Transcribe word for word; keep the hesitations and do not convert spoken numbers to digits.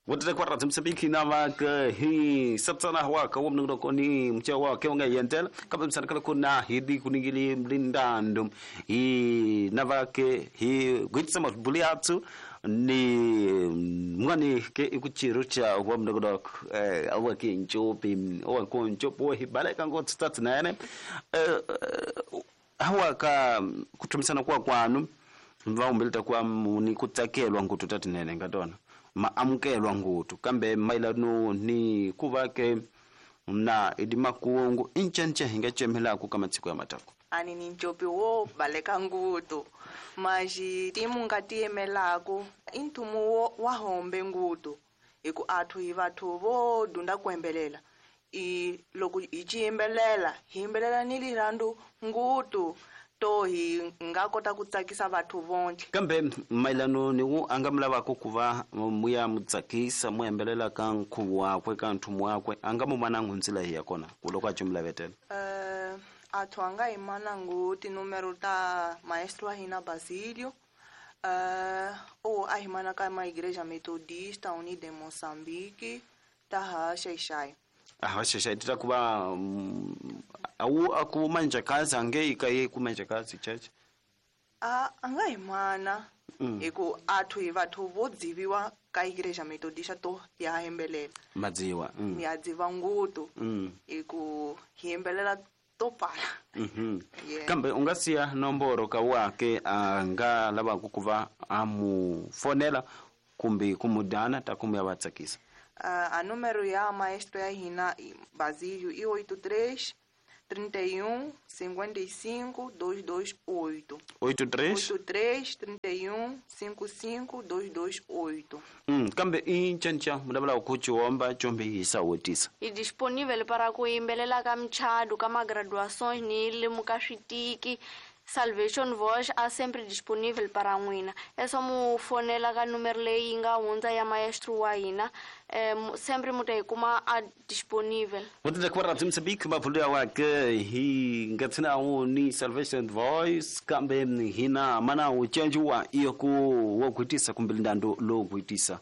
Wotete kwa Radio Mozambique na va hi satsana wa ka wo mnungu koni mche wa ke nga yentela kambe msanakala kuna hidi kuningili mlindando hi na va ke hi gwitsa mabuli atsu ni mwani ke ikuchiru cha wa mnungu eh awa ke nchopi owa ko nchopo hi baleka ngotsi tatsinene eh hawa ka kutumisana kwa kwanu mva kwa ni kutsakelwa ngutu tatinene ngatona maamukelwa ngutu kambe mailano ni kuvake na idimakuongo inchenche hinga chemela ku kamatsiko ya matako ani ni nchopi wo baleka ngutu maji timu ngatiemelako intumu wo wahombe ngutu iku athu hi vathu vo dunda kuembelela i loko hi ciyimbelela hi yimbelela ni lirhandu ngutu to hi nga kota ku tsakisa vathu vonke kambe mailano ni wu anga mulavako ku va muya mutsakisa mu yembelela ka nkhuvo wakwe ka nthumu wakwe anga mu mana ndzila hi ya kona ku loko a cimulavetela uh, athu anga hi mana ngu tinumero ta maestro wa hina Basilio uh, o a hi mana ka ma Igreja Metodista Unida em Moçambique ta ha xaixai ah xaixai tita ku va awu aku manja kazi ange ikaye kumanja kazi church a anga hi mana hiku athu hi vathu vo dziviwa ka Igreja Metodista to ya hembelela madziwa mm. ya dziva ngutu mm. hiku hi hembelela to pala mm-hmm. yeah. Kambe u nga siya nomboro ka wake a nga lavaka ku va a mu fonela kumbe ku mu dana ta ku mu ya va tsakisa. Uh, a número ya maestro ya hina Basílio i oito três trinta e um cinquenta e cinco dois dois oito. oito três? oito três, trinta e um, cinquenta e cinco, dois dois oito. Hum, kambe i nchencha mulavula ku chiomba chombe hi sawotisa. I disponível para ku yimbelela ka michado, ka magraduações ni limuka switiki. Salvation Voice a sempre disponível para n'wina. É só mu fonela ka número leyi nga hundza ya maestro wa hina, eh, sempre mu ta yi kuma a disponível. Votete kwa Radio Mozambique mavulu ya wake hi ngatsina wu ni Salvation Voice kambe hina mana wu cenjiwa iyo ku wo gwitisa kumbe lindando lo gwitisa.